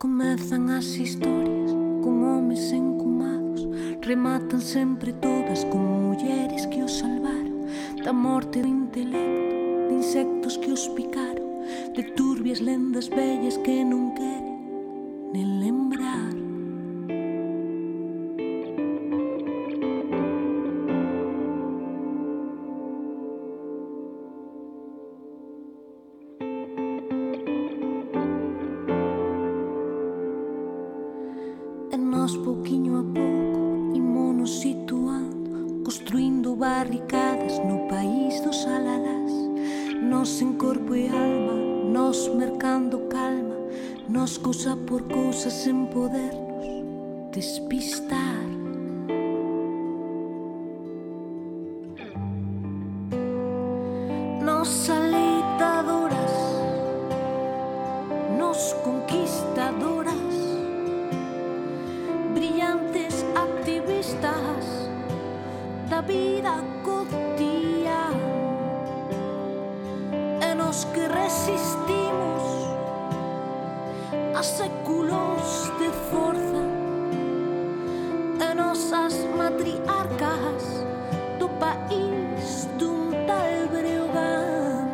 Comezan as historias con homes encumados, rematan sempre todas con mulleres que os salvaron da morte do intelecto, de insectos que os picaron, de turbias lendas vellas que non queren nen lembrar. E nós, pouquiño a pouco, imonos situando, construindo barricadas no país dos alalás. Nós en corpo e alma, nós mercando calma, nós cousa por cousa sen podernos despistar. Nós aleitadoras, nós conquistadoras, brillantes activistas da vida cotidiana, e nos que resistimos a séculos de forza, e nosas matriarcas do país dun tal Breogán.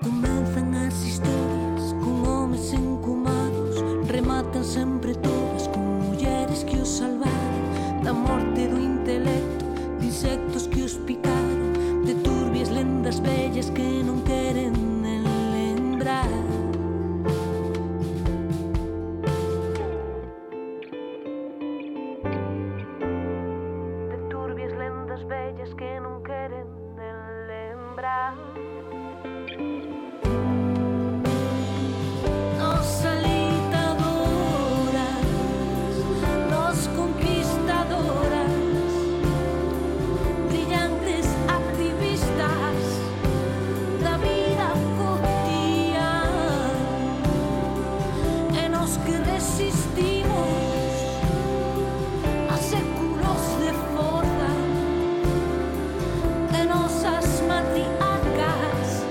Comenzan as historias con homes encumados, rematan sempre todas con mulleres que os salvaron da morte do intelecto, de insectos que os picaron, de turbias lendas vellas que non queren nen lembrar. De turbias lendas vellas que non queren nen lembrar. Nos aleitadoras, nos conquistadoras, brillantes activistas da vida cotidiana, e nos que resistimos a séculos de forza, e nosas matriarcas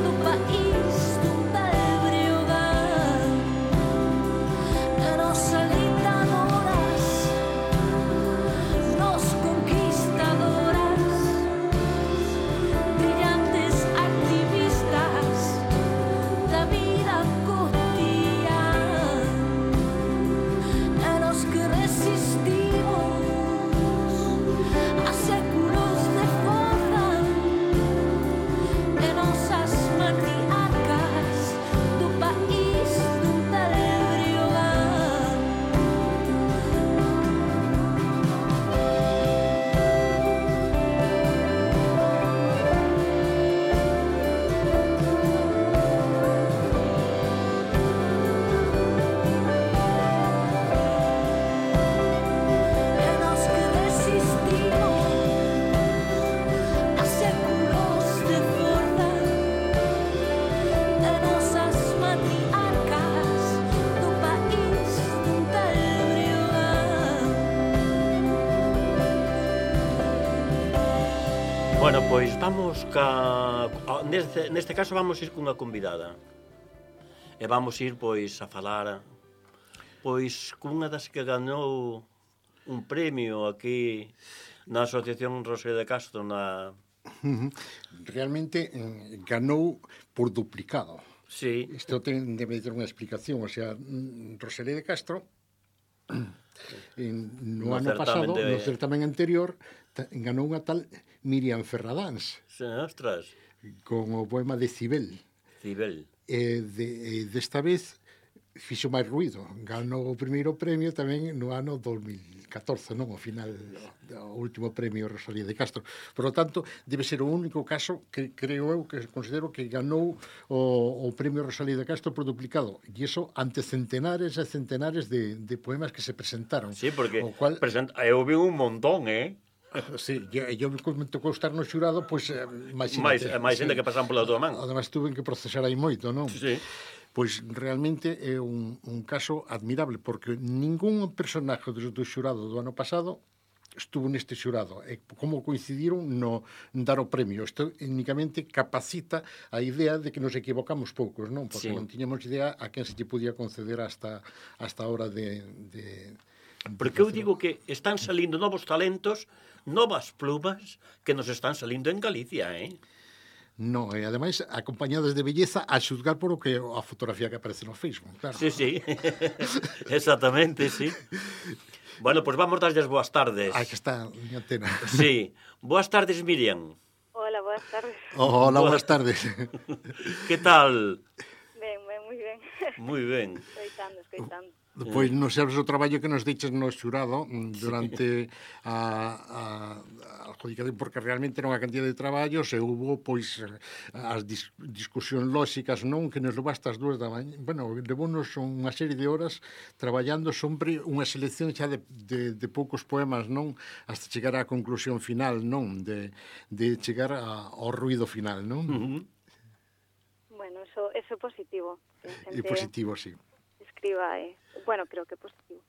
do país dun tal Breogán. E nos aleitadoras, nos conquistadoras, brillantes activistas da vida cotidiana, e nos que resistimos a séculos de forza, e nosas matriarcas do país dun tal Breogán. E nos que resistimos a séculos de forza, e nosas matriarcas do país dun tal Breogán. Bueno, pois vamos neste caso vamos ir cunha convidada. E vamos ir pois a falar pois cunha das que gañou un premio aquí na Asociación Rosalía de Castro na... Realmente ganou por duplicado. Sí, Isto debe ter unha explicación. O sea, Rosalía de Castro no ano pasado, no certamen anterior, ganou unha tal Miriam Ferradáns ostras, con o poema de Cibel. Cibel. Desta vez fixo máis ruido. Ganou o primeiro premio tamén no ano 2014, non? O final, o último premio Rosalía de Castro. Por lo tanto, debe ser o único caso que creo eu, que considero que ganou o premio Rosalía de Castro por duplicado. E iso ante centenares e centenares de poemas que se presentaron. Sí, porque o cual, eu vi un montón, sí, eu me tocou estar no xurado, pois máis xente que pasan pola tua man. Además, tuve que procesar aí moito, non? Sí. Pois realmente é un caso admirable, porque ningún personaje do xurado do ano pasado estuvo neste xurado e como coincidiron no dar o premio. Isto únicamente capacita a idea de que nos equivocamos poucos, non? Porque non tiñamos idea a quen se lle podía conceder hasta a hora de Porque eu digo que están salindo novos talentos, novas plumas que nos están salindo en Galicia, No, e ademais acompañadas de belleza a xuzgar por o que a fotografía que aparece no Facebook, claro. Sí. Exactamente, sí. Bueno, pois vamos darlles boas tardes. Que está miña antena. Sí. Boas tardes, Miriam. Hola, boas tardes. Hola, boas tardes. Que tal? Ben, moi ben. Moi ben. Escoitando. Pois non sabes o traballo que nos diches no xurado durante a adjudicación, porque realmente era unha cantidad de traballos e hubo, pois, as discusións lóxicas, non? Que nos levaste as 2 da mañá. Bueno, levounos unha serie de horas traballando sempre unha selección xa de poucos poemas, non? Hasta chegar á conclusión final, non? De chegar ao ruido final, non? Bueno, eso é positivo. É positivo, sí. Escriba, bueno, creo que é positivo.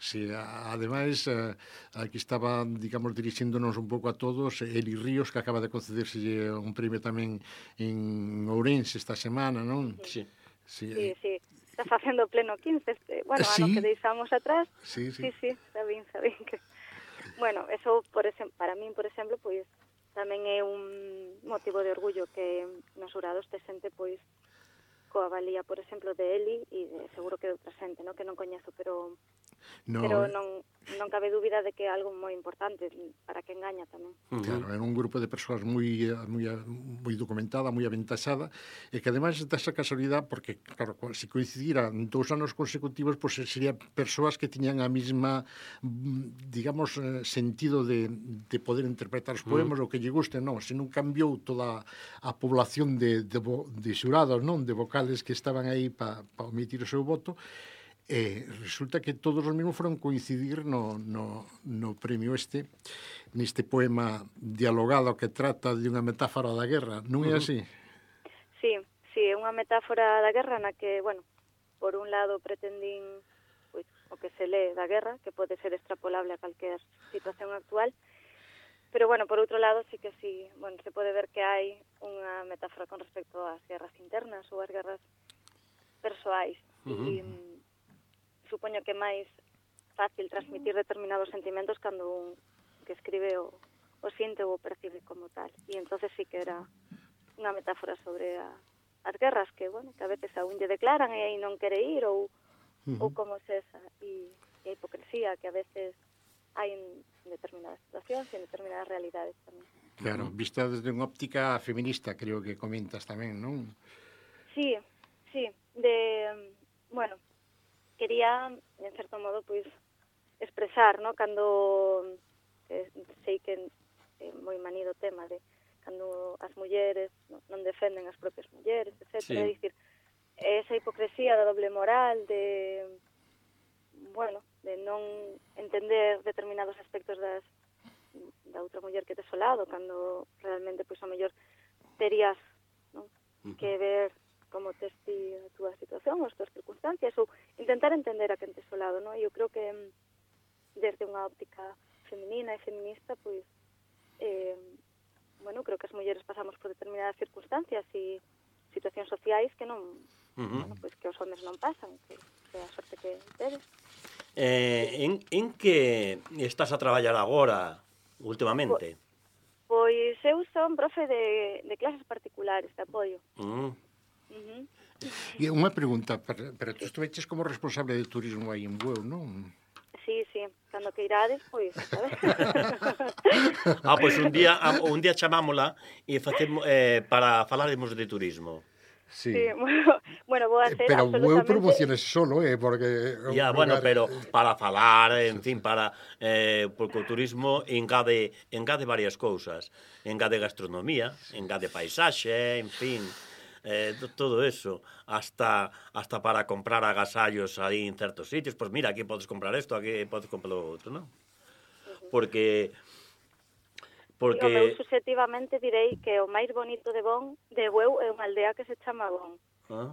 Sí, ademais, aquí estaba, digamos, dirixíndonos un pouco a todos Eli Ríos, que acaba de concederse un premio tamén en Ourense esta semana, non? Sí. Sí. Está facendo pleno 15, bueno, ano que deixamos atrás. Sí. Está ben que... Bueno, eso, para min, por exemplo, pois, tamén é un motivo de orgullo que nos xurados te xente, pois, coa valía, por exemplo, de Eli e seguro que de outra xente, no? Que non coñezo, pero non cabe dúbida de que é algo moi importante para quen gaña tamén. Claro, era un grupo de persoas moi documentada, moi aventaxada, e que ademais desa casualidade, porque, claro, se coincidiran 2 anos consecutivos, pois serían persoas que tiñan a mesma, digamos, sentido de poder interpretar os poemas, o que lle gusten, non? Se non cambiou toda a población de xurados, non? De vocales que estaban aí para omitir o seu voto, resulta que todos os mesmos foron coincidir no premio neste poema dialogado que trata de unha metáfora da guerra, non é así? Sí, é unha metáfora da guerra na que, bueno, por un lado pretendín pois, o que se lee da guerra, que pode ser extrapolable a calquer situación actual, pero, bueno, por outro lado, sí que bueno, se pode ver que hai unha metáfora con respecto ás guerras internas ou ás guerras persoais. E supoño que é máis fácil transmitir determinados sentimentos cando un que escribe o siente ou o percibe como tal. E entonces sí que era unha metáfora sobre as guerras que, bueno, que a veces a un lle declaran e aí non quere ir ou como se esa. E a hipocresía que a veces hai en determinadas situacións e en determinadas realidades tamén. Claro, vista desde unha óptica feminista, creo que comentas tamén, non? Sí, bueno, quería, en certo modo, pois, expresar, no? Cando sei que é moi manido o tema de cando as mulleres non defenden as propias mulleres, etc. Sí. É dicir, esa hipocresía da doble moral, de non entender determinados aspectos da outra muller que tes ao lado, cando realmente, pois, a mellor terías, non? Que ver como tes ti a túa situación, as túas circunstancias, ou intentar entender a quen tes ao lado, non? E eu creo que desde unha óptica feminina e feminista, pois, bueno, creo que as mulleres pasamos por determinadas circunstancias e situacións sociais que non, bueno, pois que os homens non pasan, que é a sorte que tedes. En que estás a traballar agora, últimamente? Pois eu son profe de clases particulares de apoio. E unha pregunta, pero tú estuveches como responsable de turismo aí en Bueu, non? Sí, cando que irades, pois, sabes? Pois un día chamámola e facemos para falaremos de turismo. Sí, bueno, vou a ser pero absolutamente... Bueu promociones solo, porque... Bueno, pero para falar, en fin, porque o turismo engade varias cousas. Engade gastronomía, engade paisaxe, en fin... todo eso, hasta para comprar agasallos aí en certos sitios, pois mira, aquí podes comprar isto, aquí podes comprar o outro, non? Porque eu subjetivamente direi que o máis bonito de Bueu é unha aldea que se chama Bon.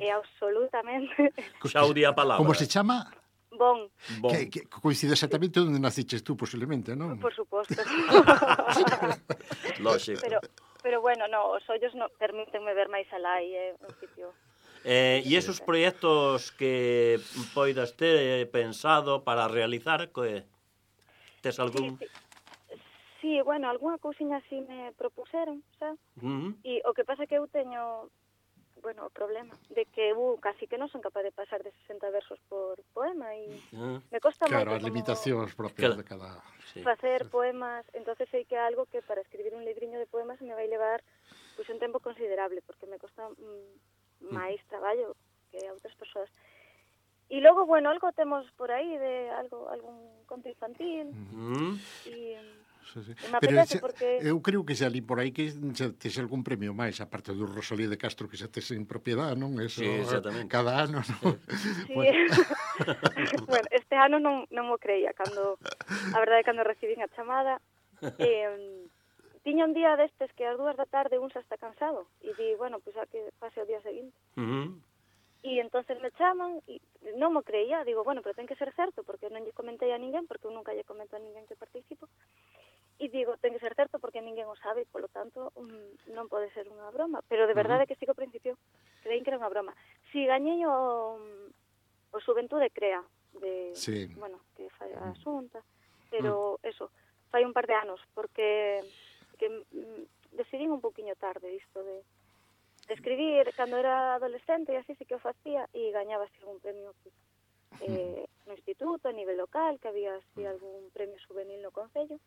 É absolutamente... Xa o di a palabra. Como se chama? Bon, Bon. Que coincide exactamente onde naciches tú, posiblemente, non? por suposto. Lógico. Pero bueno, no, os ollos no, permítenme ver máis alá e é un sitio... E esos proxectos que poidas ter pensado para realizar, que tes algún... Sí, bueno, algunha cousiña así me propuseron, sabes? E o que pasa que eu teño, bueno, o problema de que eu casi que non son capaz de pasar de 60 versos por poema e me costa Claro, moito as limitacións propias Claro. de cada... Sí. facer poemas, entonces sei que é algo que para escribir un libriño de poemas me vai levar pois un tempo considerable, porque me costa máis traballo que a outras persoas. E logo, bueno, algo temos por aí de algún conto infantil e... Sí, sí. Me Pero apetece porque... eu creo que xa li por aí que xa tes algún premio máis, aparte do Rosalía de Castro que xa tes en propiedade, non? Eso, Sí, exactamente. cada ano, non? Sí. Bueno, este ano non mo creía, a verdade, cando recibín a chamada, tiña un día destes que ás 2 da tarde un xa está cansado, e di, bueno, pois a que pase o día seguinte. E entonces me chaman, e non mo creía, digo, bueno, pero ten que ser certo, porque non lle comentei a ninguén, porque eu nunca lle comento a ninguén que participo, e digo, ten que ser certo porque ninguén o sabe, polo tanto, non pode ser unha broma. Pero de verdade que sí que ao principio creín que era unha broma. Si gañei o Xuventude Crea, Sí. bueno, que fai a Xunta, pero eso, fai un par de anos, porque que decidín un poquinho tarde isto de escribir, cando era adolescente e así sí que o facía, e gañaba así algún premio no instituto, a nivel local, que había así algún premio juvenil no concello.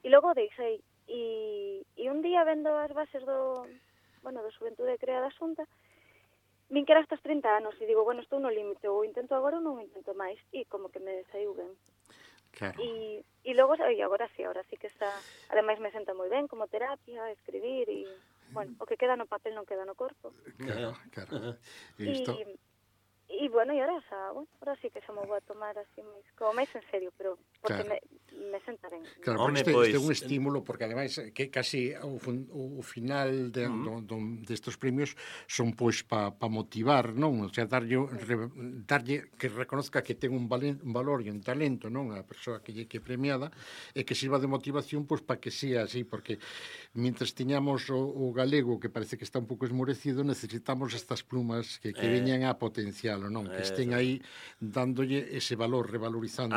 E logo deixei, e un día vendo as bases do Xuventude Crea da Xunta, vin que era hasta os 30 anos, e digo, bueno, estou no límite, ou intento agora ou non intento máis, e como que me saiu ben. Claro. E logo, agora sí que está, ademais me senta moi ben como terapia, escribir, e, bueno, o que queda no papel non queda no corpo. Claro. E isto... E bueno, e ahora sí que xa me vou a tomar así como máis en serio, pero porque Claro. me senta ben. Claro, Home, porque este é un pois, estímulo, porque ademais que casi o final destes premios son pois pa motivar, non? O sea, darlle que reconozca que ten un valor e un talento, non? A persoa que é premiada e que sirva de motivación pois para que sea así, porque mientras tiñamos o galego que parece que está un pouco esmorecido, necesitamos estas plumas que veñan a potencialo, non? Que estén aí dándolle ese valor, revalorizando,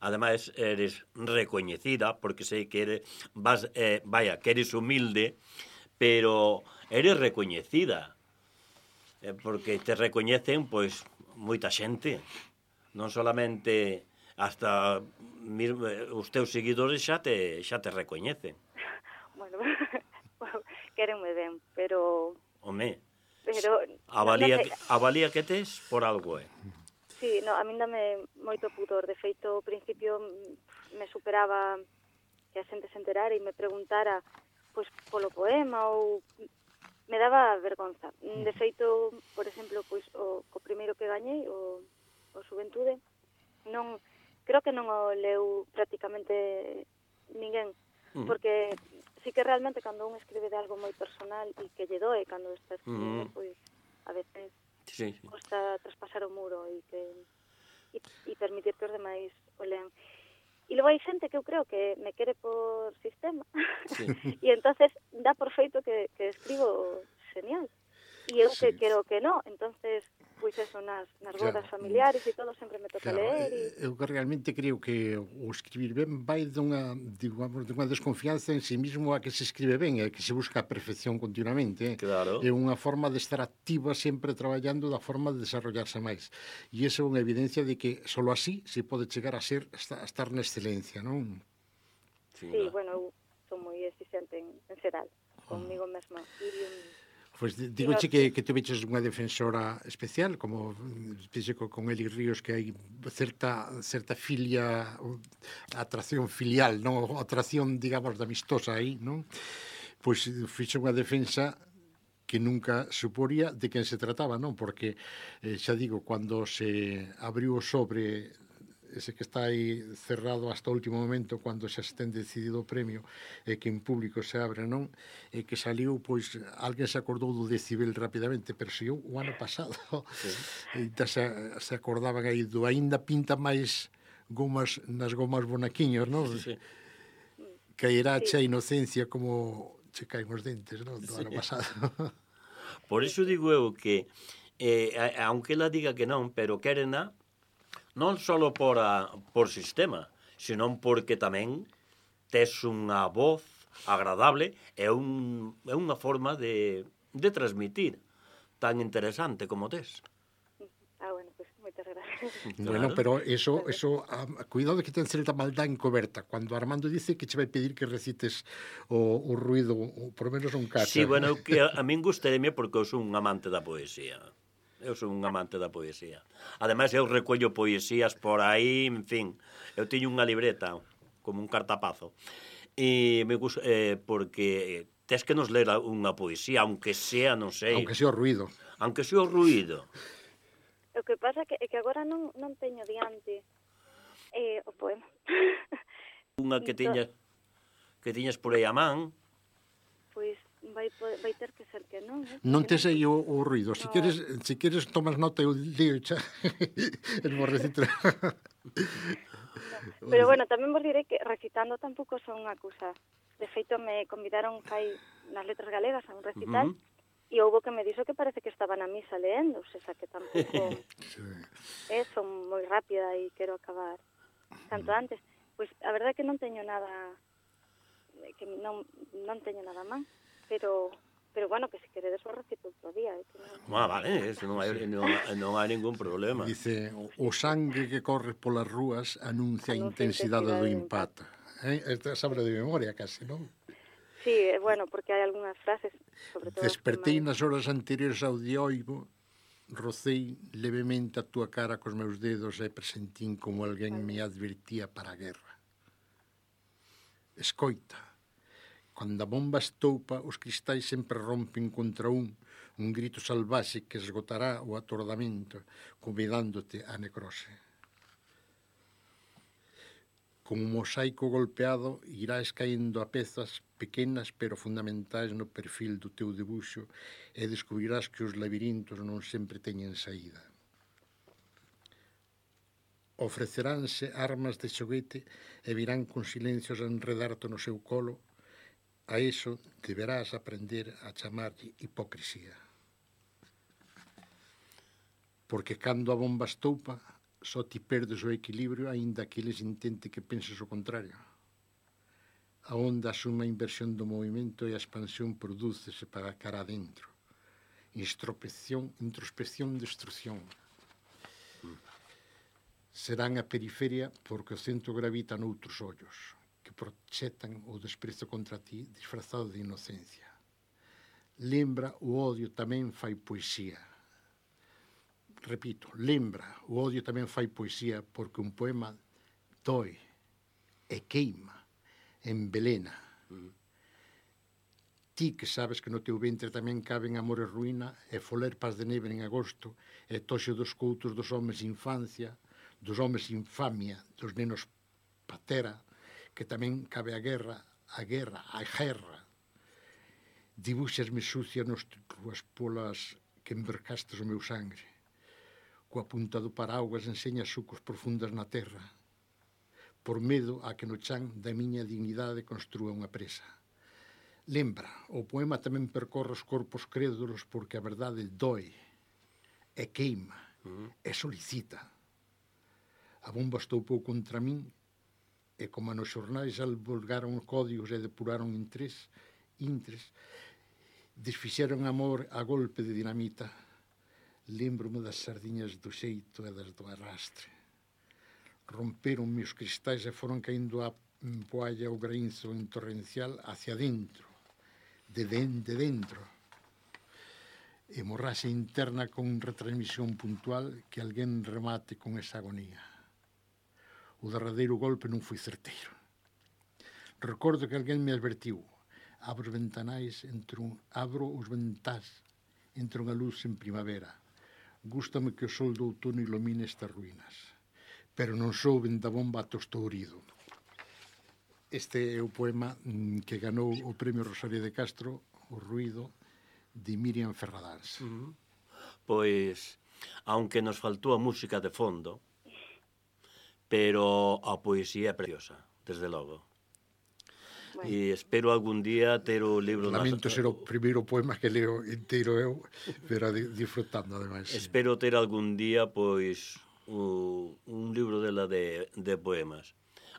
Ademais, eres recoñecida, porque sei que eres, que eres humilde, pero eres recoñecida, porque te recoñecen, pois, moita xente, non solamente hasta os teus seguidores xa te recoñecen. Bueno, quérenme ben, pero... Home, a valía que tes por algo, Sí, no, a min dame moito pudor. De feito, ao principio me superaba que a xente se enterara e me preguntara pois polo poema ou me daba vergonza. De feito, por exemplo, pois o primeiro que gañei, o Xuventude, creo que non o leu prácticamente ninguén, porque sí que realmente cando un escribe de algo moi personal e que lle doe cando está escribindo, pois a veces costa traspasar o muro e permitir que os demais o lean. E logo hai xente que eu creo que me quere por sistema e entonces dá por feito que escribo genial e eu que quero que non, entonces pois eso, nas bodas familiares e todo sempre me toca ler. Eu realmente creo que o escribir ben vai dunha desconfianza en si mismo a que se escribe ben, a que se busca a perfección continuamente. Claro. É unha forma de estar activa sempre traballando da forma de desarrollarse máis. E iso é unha evidencia de que só así se pode chegar a estar na excelencia, non? Sí, bueno, eu son moi exigente en xeral, conmigo mesma. Pois digoche que te veches unha defensora especial, como dixe con Eli Ríos, que hai certa filia, atracción filial, non? Atracción, digamos, de amistosa aí, non? Pois fixe unha defensa que nunca suporía de quen se trataba, non? Porque, xa digo, cando se abriu o sobre ese que está aí cerrado hasta o último momento cando xa se ten decidido o premio e que en público se abre, non? E que saliu, pois, alguén se acordou do decibel rapidamente, pero se o ano pasado. Sí. Entón se acordaban aí do aínda pinta máis gomas nas gomas bonaquiños, non? Sí. Caerá che a inocencia como che caen os dentes, non? Do ano pasado. Por iso digo eu que aunque ela diga que non, pero quérena non só por sistema, senón porque tamén tes unha voz agradable e unha forma de transmitir tan interesante como tes. Bueno, pues moitas gracias. Bueno, pero eso cuidado que ten certa maldad encoberta. Cando Armando dice que che vai pedir que recites o ruido, ou por menos un cacho. Sí, bueno, que a min gustaríame porque eu son un amante da poesía. Eu son un amante da poesía. Ademais, eu recollo poesías por aí, en fin. Eu teño unha libreta, como un cartapazo. E me gusta, porque tes que nos ler unha poesía, aunque sea, non sei. Aunque sea o ruido. Aunque sea o ruido. O que pasa é que agora non teño diante o poema. Unha que tiñas por aí a man. Pois vai ter que ser que non. Non tes aí o ruido. Se queres tomas nota, eu digo xa. En vos recitar. Pero bueno, tamén vos direi que recitando tampouco son unha cousa. De feito, me convidaron nas Letras Galegas a un recital e houbo que me dixo que parece que estaba na misa leendo, o sea, que tampouco son moi rápida e quero acabar canto antes. Pois a verdade é que non teño nada teño nada máis, pero bueno, que se queredes vos recito outro día. Vale, eso non hai ningún problema. Dice, o sangue que corre polas rúas anuncia a intensidade do impacto. Esta sabe de memoria casi, non? Sí, bueno, porque hai algunhas frases, sobre todo... Despertei nas horas anteriores ao dioivo, rocei levemente a túa cara cos meus dedos e presentín como alguén me advertía para a guerra. Escoita, cando a bomba estoupa, os cristais sempre rompen contra un grito salvaxe que esgotará o atordamento, convidándote a necrose. Como un mosaico golpeado, irás caendo a pezas pequenas pero fundamentais no perfil do teu debuxo e descubrirás que os labirintos non sempre teñen saída. Ofreceránse armas de xoguete e virán con silencios a enredarte no seu colo. A iso deberás aprender a chamarlle hipocrisía. Porque cando a bomba estoupa, só ti perdes o equilibrio aínda que eles intente que penses o contrario. A onda asume a inversión do movimento e a expansión prodúcese para a cara adentro. Introspección, destrucción. Serán a periferia porque o centro gravita noutros ollos que proxetan o desprezo contra ti disfrazado de inocencia. Lembra, o odio tamén fai poesía. Repito, lembra, o odio tamén fai poesía porque un poema doe e queima, envelena. Ti que sabes que no teu ventre tamén caben amor e ruína e folerpas de neve en agosto e toxe dos coutos dos homes infancia, dos homes infamia, dos nenos patera, que tamén cabe a guerra. Dibuxasme sucia nos ruas polas que embercastes o meu sangre. Coa punta do paraugas enseña sucos profundas na terra, por medo a que no chan da miña dignidade construa unha presa. Lembra, o poema tamén percorre os corpos crédulos porque a verdade doe, e queima, e solicita. A bomba estoupou contra min, e como nos xornais alvolgaron códigos e depuraron intres, desfixeron amor a golpe de dinamita. Lembro-me das sardiñas do xeito e das do arrastre. Romperon os cristais e foron caindo a poalla o graínzo en torrencial hacia dentro, de dentro. Hemorraxe interna con retransmisión puntual que alguén remate con esa agonía. O derradeiro golpe non foi certeiro. Recordo que alguén me advertiu. Abro os ventás entre unha luz en primavera. Gústame que o sol do outono ilumine estas ruínas. pero non souben da bomba tostourido. Este é o poema que ganou o premio Rosalía de Castro, O ruido, de Miriam Ferradáns. Pois, aunque nos faltou a música de fondo, pero a poesía é preciosa, desde logo. Bueno. E espero algún día ter o libro... Lamento ser o primeiro poema que leo inteiro eu, pero disfrutando, ademais. Espero ter algún día, pois, un libro dela de poemas.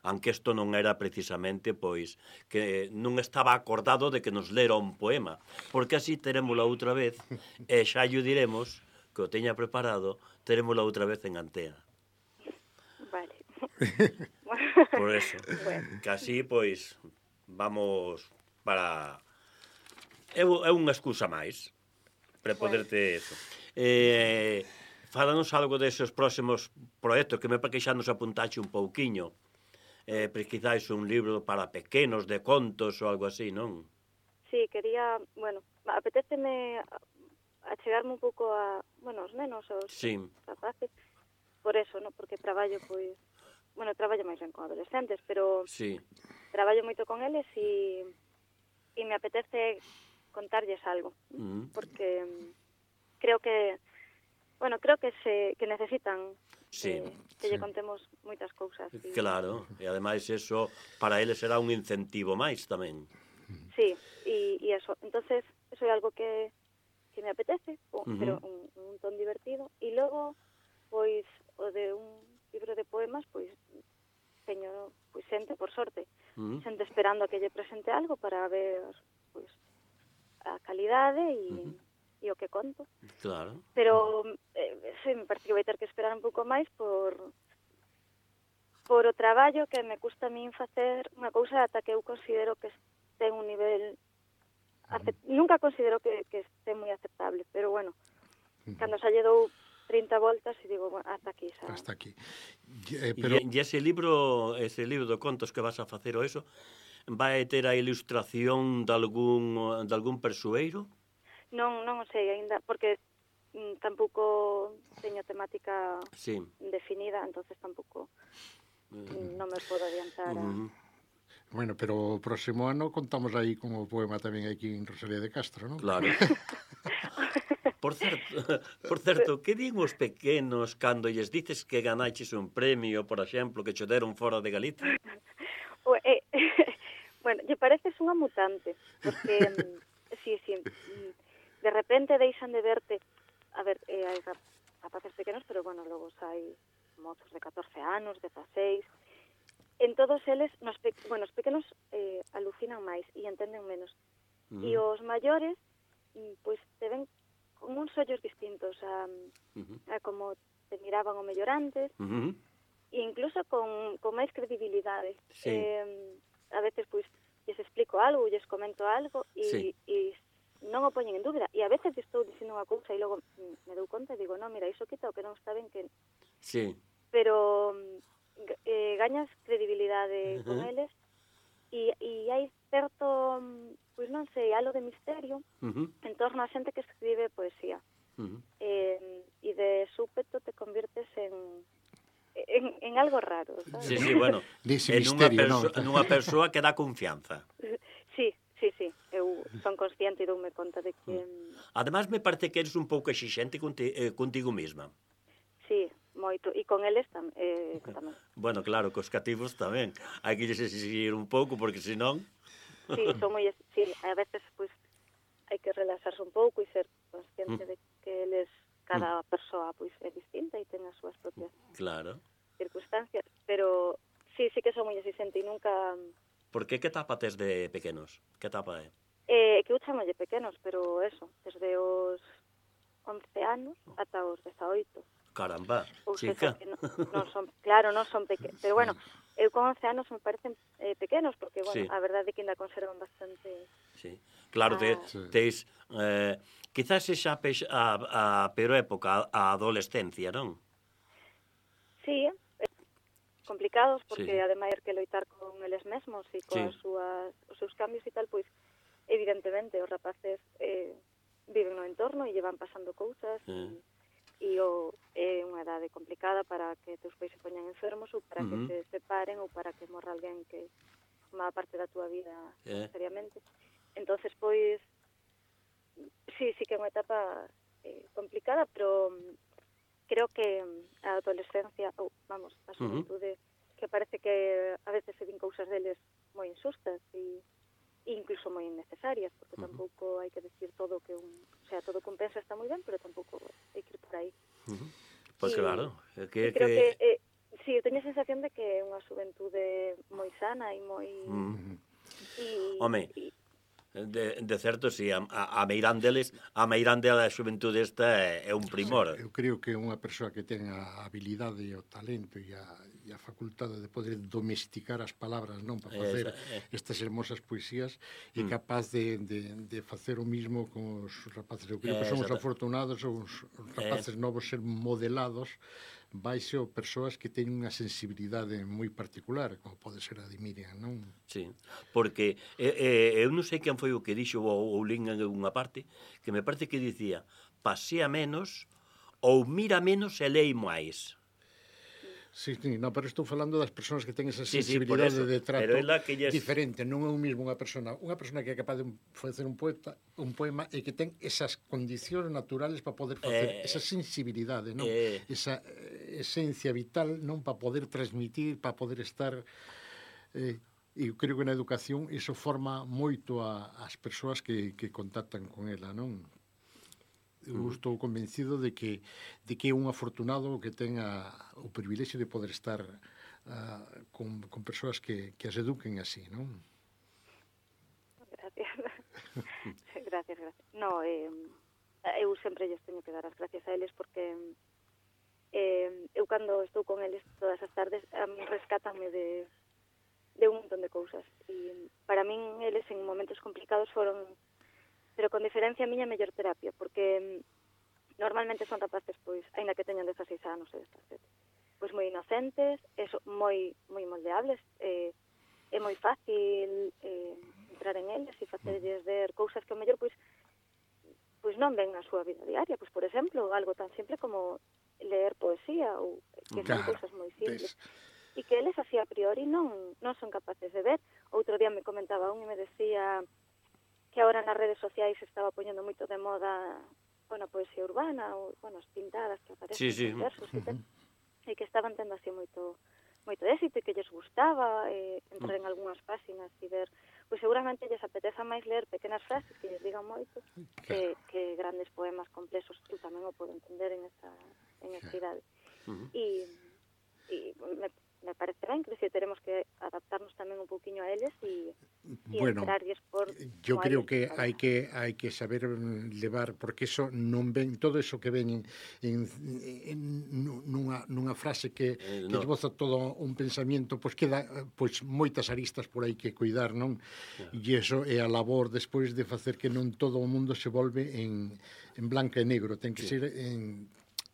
Aunque isto non era precisamente, pois, que non estaba acordado de que nos lera un poema, porque así terémola outra vez, e xa lle diremos, que o teña preparado, terémola outra vez en Antea. Vale. Por eso, Bueno. que así, pois, vamos para... É unha excusa máis para poderte eso. Fálanos algo deses próximos proxectos, que me parece que xa nos apuntaxe un pouquiño. Pero quizás un libro para pequenos, de contos ou algo así, non? Sí, quería, bueno, apetéceme achegarme un pouco a, bueno, os nenos, os Sí. rapaces, por eso, no? Porque traballo, pois, bueno, traballo máis ben con adolescentes, pero Sí. traballo moito con eles e me apetece contarlles algo, porque creo que, bueno, creo que necesitan Sí. que lle contemos moitas cousas. Claro, e ademais eso para eles será un incentivo máis tamén. Sí, e eso. Entonces, eso é algo que me apetece, pero un ton divertido. E logo, pois, o de un libro de poemas, pois, teño, pois, xente, por sorte, xente esperando a que lle presente algo para ver, pois, a calidade e o que conto. Claro. Pero sí, me parece que vai ter que esperar un pouco máis por o traballo que me custa a min facer unha cousa ata que eu considero que ten un nivel nunca considero que este moi aceptable, pero bueno, cando xa lle dou 30 voltas e digo, bueno, hasta aquí xa. Hasta aquí. Pero... E ese libro de contos que vas a facer o eso, vai ter a ilustración de algún persoeiro? Non o sei aínda, porque tampouco teño temática definida, entonces tampouco non me podo adiantar a... Bueno, pero o próximo ano contamos aí con o poema tamén aquí en Rosalía de Castro, non? Claro. Por certo, que din os pequenos cando lles dices que ganaches un premio, por exemplo, que che deron fora de Galicia? Bueno, lle pareces unha mutante, porque sí, de repente deixan de verte, a ver, hai rapaces pequenos, pero bueno, logo hai mozos de 14 anos, 16, en todos eles, os pequenos alucinan máis e entenden menos, e os maiores, pois te ven con uns ollos distintos a como te miraban o mellor antes, e incluso con máis credibilidade. Sí. A veces, pois, lles explico algo, lles comento algo, e non o poñen en dúbida. E a veces estou dicindo unha cousa e logo me dou conta e digo, non, mira, iso quita o que non está ben que... Sí. Pero gañas credibilidade con eles e hai certo, pois non sei, algo de misterio en torno a xente que escribe poesía. E de súpeto te convirtes en algo raro, sabes? Sí, bueno, nunha persoa que dá confianza. Sí, eu son consciente e doume conta de que... Ademais, me parece que eres un pouco exixente contigo mesma. Sí, moito, e con eles tamén. Bueno, claro, cos cativos tamén. Hai que lles exigir un pouco, porque senón... Sí, son moi... Sí, a veces, pois, hai que relaxarse un pouco e ser consciente de que eles, cada persoa, pois, é distinta e ten as súas propias circunstancias, pero sí que son moi exigente e nunca... Por que etapa tes de pequenos? Que etapa é? Que eu chamolle pequenos, pero eso, desde os 11 anos ata os 18. Caramba, chica. Non son pequenos, pero bueno, eu con 11 anos me parecen pequenos, porque, bueno, a verdade é que ainda conservan bastante... Sí, claro, teis... Quizás xa a peor época, a adolescencia, non? Sí, complicados, porque ademais hai que loitar con eles mesmos e con os seus cambios e tal, pois, evidentemente, os rapaces viven no entorno e llevan pasando cousas, e é unha edade complicada para que teus pais se poñan enfermos ou para que se separen ou para que morra alguén que formaba parte da túa vida seriamente. Entonces, pois, sí que é unha etapa complicada, pero creo que a adolescencia, ou, vamos, a xuventude, que parece que a veces se din cousas deles moi insustas e incluso moi innecesarias, porque tampouco hai que decir todo que o sea, todo compensa está moi ben, pero tampouco hai que ir por aí. Pois claro, creo que sí, eu teño a sensación de que é unha xuventude moi sana e moi Home, de certo, si, a meirán da xuventude esta é un primor. Eu creo que unha persoa que ten a habilidade e o talento e a facultade de poder domesticar as palabras, non, para facer estas hermosas poesías, é capaz de facer o mismo con os rapaces. Eu creo que son os afortunados, os rapaces novos ser modelados baixo persoas que teñen unha sensibilidade moi particular, como pode ser a de Miriam, non? Sí, porque eu non sei quen foi o que dixo ou lín en unha parte, que me parece que dicía pasea menos ou mira menos e lei máis. Sí, no, pero estou falando das persoas que ten esa sensibilidade de trato diferente. Non é o mesmo unha persona que é capaz de facer un poema e que ten esas condicións naturales para poder facer esa sensibilidade, non? Esa esencia vital, non, para poder transmitir, para poder estar... E eu creo que na educación iso forma moito as persoas que contactan con ela, non? Eu estou convencido de que é un afortunado que tenga o privilexio de poder estar con persoas que as eduquen así, non? Gracias. No, eu sempre lles teño que dar as gracias a eles porque eu cando estou con eles todas as tardes a mí rescátanme de un montón de cousas e para min eles en momentos complicados foron, pero con diferencia a miña mellor terapia, porque normalmente son rapaces, pois, aínda que teñan 16 anos e 17, pois moi inocentes, moi moldeables, é moi fácil entrar en eles e facerlles ver cousas que ao mellor, pois non ven na súa vida diaria, pois, por exemplo, algo tan simple como leer poesía, ou que son cousas moi simples. E que eles así a priori non son capaces de ver. Outro día me comentaba un e me decía que agora nas redes sociais se estaba poñendo moito de moda a poesía urbana, ou, as pintadas que aparecen nos versos, e que estaban tendo así moito éxito e que lles gustaba entrar en algunhas páxinas e ver, pois seguramente lles apeteza máis ler pequenas frases que lles digan moito que grandes poemas complexos. Eu tamén o podo entender en esa idade. E me parece ben, que teremos que adaptarnos tamén un pouquiño a eles e entrarlles por... Yo creo que hai que saber levar, porque eso non ven, todo eso que ven nunha frase que esboza todo un pensamento, pois queda moitas aristas por aí que cuidar, non? E eso é a labor despois de facer que non todo o mundo se volve en blanco e negro, ten que ser en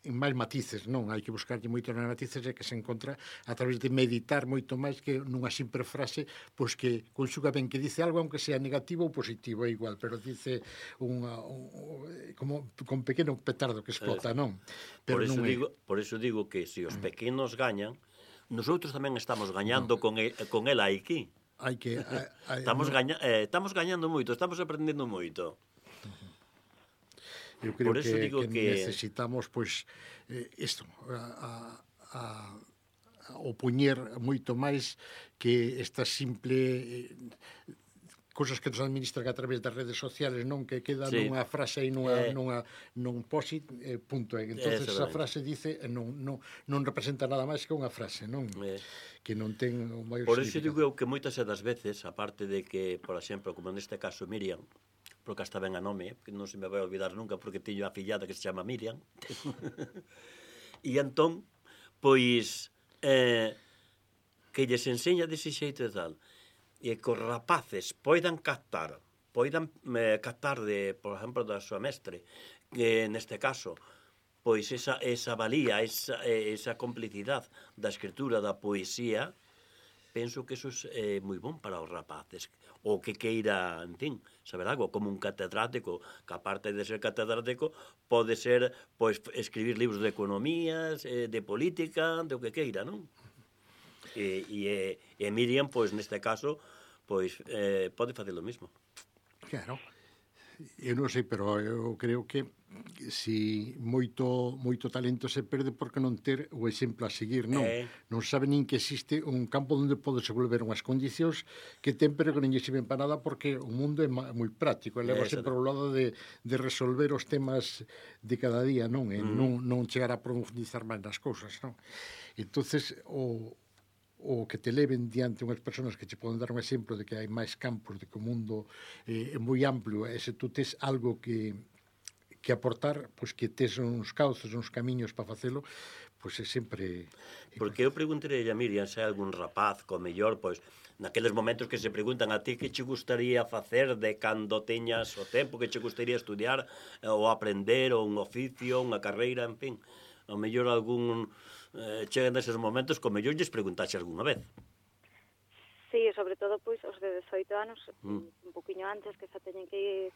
máis matices, non? Hai que buscarlle moito nas matices e que se encontra a través de meditar moito máis que nunha simple frase, pois que conxuga ben, que dice algo aunque sea negativo ou positivo, é igual, pero dice como con pequeno petardo que explota, non? Pero por eso digo que se os pequenos gañan, nosotros tamén estamos gañando con ela aquí. Estamos gañando moito, estamos aprendendo moito. Eu creo que necesitamos, pois, isto, opoñer moito máis que esta simple cousas que nos administran a través das redes sociales, non, que queda nunha frase e nun post-it, punto. Entonces esa frase dice, non representa nada máis que unha frase, non? Que non ten o maior significado. Por iso digo eu que moitas das veces, aparte de que, por exemplo, como neste caso Miriam, porque hasta ben a nome, que non se me vai olvidar nunca, porque teño a fillada que se chama Miriam. E entón, pois, que lles enseña dese xeito e tal, e que os rapaces poidan captar de, por exemplo, da súa mestre, que neste caso, pois esa valía, esa complicidade da escritura, da poesía, penso que eso é moi bon para os rapaces, o que queira, en fin, saber algo, como un catedrático, que aparte de ser catedrático, pode ser, pois, escribir libros de economías, de política, de o que queira, non? E Miriam, pois, neste caso, pois, pode facer o mismo. Claro. Eu non sei, pero eu creo que si moito talento se perde porque non ter o exemplo a seguir, non? Non sabe nin que existe un campo onde pode desenvolver unhas condicións que ten, pero que non lle sirven para nada porque o mundo é moi práctico, e leva sempre ao lado de resolver os temas de cada día, non? E non chegar a profundizar máis nas cousas, non? Entonces, o que te leven diante unhas persoas que che poden dar un exemplo de que hai máis campos, de que o mundo é moi amplio, e se tú tes algo que aportar, pois que tes uns cauces, uns camiños para facelo, pois é sempre... Porque eu preguntarei a Miriam se hai algún rapaz, co mellor, pois, naqueles momentos que se preguntan a ti que che gustaría facer de cando teñas o tempo, que che gustaría estudiar, ou aprender, ou un oficio, unha carreira, en fin, ao mellor algún... chegan deses momentos, como mellor lles preguntaxe algunha vez. Sí, sobre todo, pois, os de 18 anos, un poquinho antes, que xa teñen que ir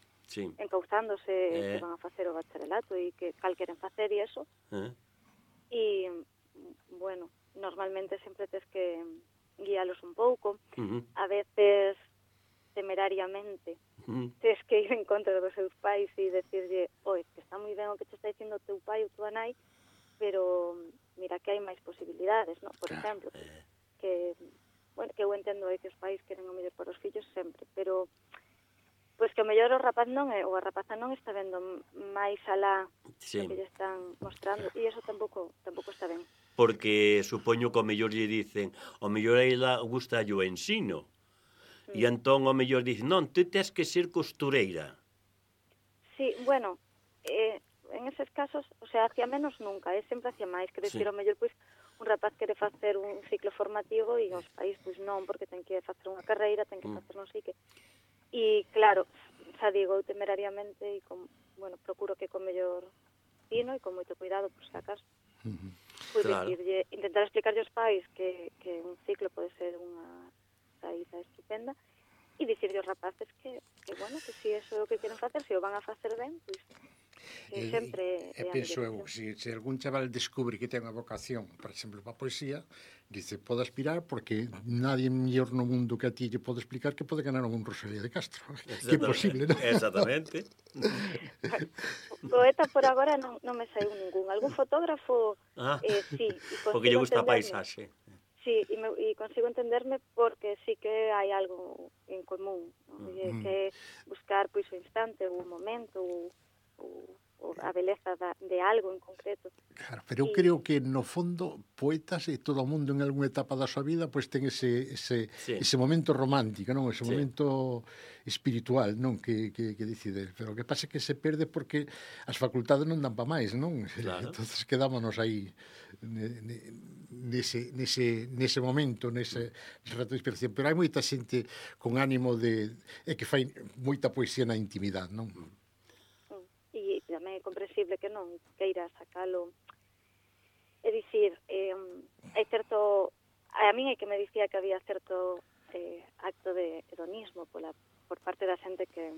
encauzándose que van a facer o bacharelato e que cal queren facer e eso. E, bueno, normalmente sempre tes que guialos un pouco. A veces, temerariamente, tes que ir en contra dos seus pais e decirlle, oi, que está moi ben o que te está dicindo o teu pai ou tua nai, pero mira que hai máis posibilidades, ¿no? Por exemplo, que eu entendo que os pais queren o mellor para os fillos sempre, pero pois que o mellor o rapaz non ou a rapaza non está vendo máis alá do que lle están mostrando, e iso tampouco está ben. Porque supoño que o mellor lle dicen, o mellor a ela gusta o ensino, e entón o mellor dicen, non, tú tes que ser costureira. Sí, bueno, en eses casos, o sea, hacia menos nunca, sempre hacia máis, quero dicir, o mellor, pois, un rapaz quere facer un ciclo formativo e os pais, pois, non, porque ten que facer unha carreira, ten que facer non sei que. E, claro, xa digo, temerariamente, e bueno, procuro que con mellor fino e con moito cuidado, por si acaso. Pois dicirlle, intentar explicarlle aos pais que un ciclo pode ser unha saída estupenda, e dicirlle aos rapaces que bueno, que si eso é o que queren facer, se o van a facer ben, pois, que sempre... penso eu, se algún chaval descubre que ten unha vocación, por exemplo, para a poesía, dice, pode aspirar, porque nadie mellor no mundo que a ti lle pode explicar que pode ganar un Rosalía de Castro. Que é posible, non? Exactamente. Poeta por agora non me saiu ningún. Algún fotógrafo, sí. Porque lle gusta a paisaxe. Sí, e consigo entenderme porque sí que hai algo en común, ¿no? Que buscar, pois, o instante, o momento, ou a beleza de algo en concreto. Claro, pero eu creo que no fondo poetas e todo o mundo en algunha etapa da súa vida pois ten ese momento romántico, non? Ese momento espiritual, non? Que decide, pero o que pasa é que se perde porque as facultades non dan pa máis, non? Claro. Entonces quedámonos aí nese momento, nese rato de inspiración, pero hai moita xente con ánimo que fai moita poesía na intimidade, non? E tamén é comprensible que non queira sacalo. É dicir, hai certo... A min é que me dicía que había certo acto de hedonismo por parte da xente que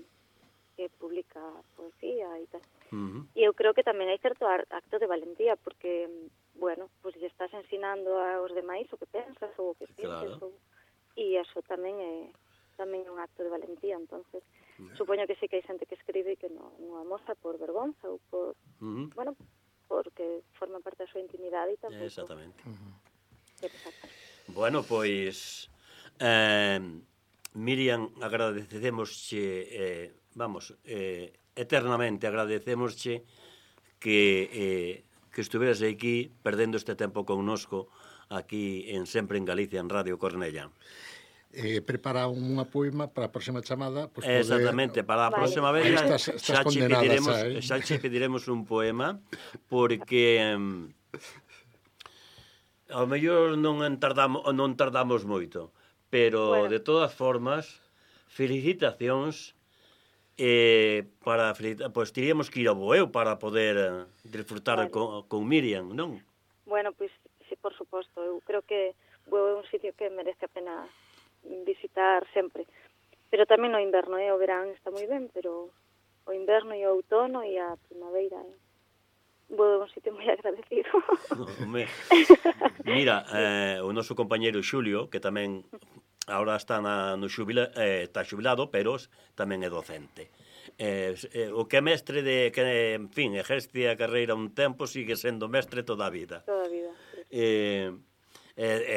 publica poesía e tal. E eu creo que tamén hai certo acto de valentía, porque, bueno, pues lle estás ensinando aos demais o que pensas ou o que sientes, e eso tamén é un acto de valentía, entonces... Supoño que sí que hai xente que escribe e que non amosa por vergonza ou por... Bueno, porque forma parte da súa intimidade e tampouco... Exactamente. Bueno, pois... Miriam, agradecemosche, eternamente agradecemosche que estuveras aquí perdendo este tempo connosco aquí Sempre en Galicia, en Radio Cornella. Prepara unha poema para a próxima chamada, pues exactamente, para a próxima vez xa che pediremos un poema, porque ao mellor non tardamos moito, pero de todas formas felicitacións, pois teríamos que ir ao Bueu para poder disfrutar con Miriam, non? Bueno, pois, sí, por suposto, eu creo que Bueu é un sitio que merece a pena visitar sempre. Pero tamén no inverno, o verán está moi ben, pero o inverno e o outono e a primavera, Bueu é un sitio moi agradecido. Mira, o noso compañeiro Xulio, que tamén agora está está xubilado, pero tamén é docente. O que é mestre que, en fin, exerce a carreira un tempo, sigue sendo mestre toda a vida. Toda a vida,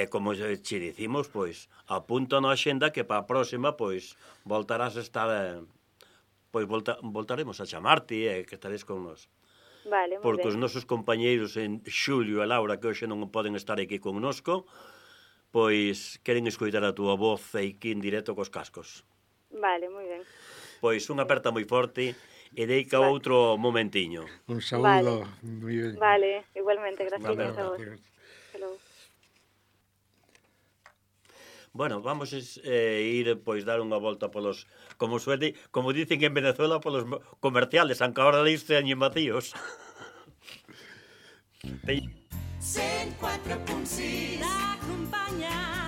Como che dicimos, pois, apunta na xenda que para a próxima, pois, voltarás a estar, pois, voltaremos a chamarte que estares con nos. Vale, moi Porque ben. os nosos compañeiros en Xulio e Laura, que hoxe non poden estar aquí connosco, pois queren escoitar a túa voz aquí en directo cos cascos. Vale, moi ben. Pois unha aperta moi forte e deica outro momentiño. Un saúdo moi ben. Vale, igualmente, gracias Vale, a vos. Hello. Bueno, vamos ir pois dar unha volta polos, como dicen en Venezuela, polos comerciales, aunque ahora leíste años vacíos. 104.6 t'acompanya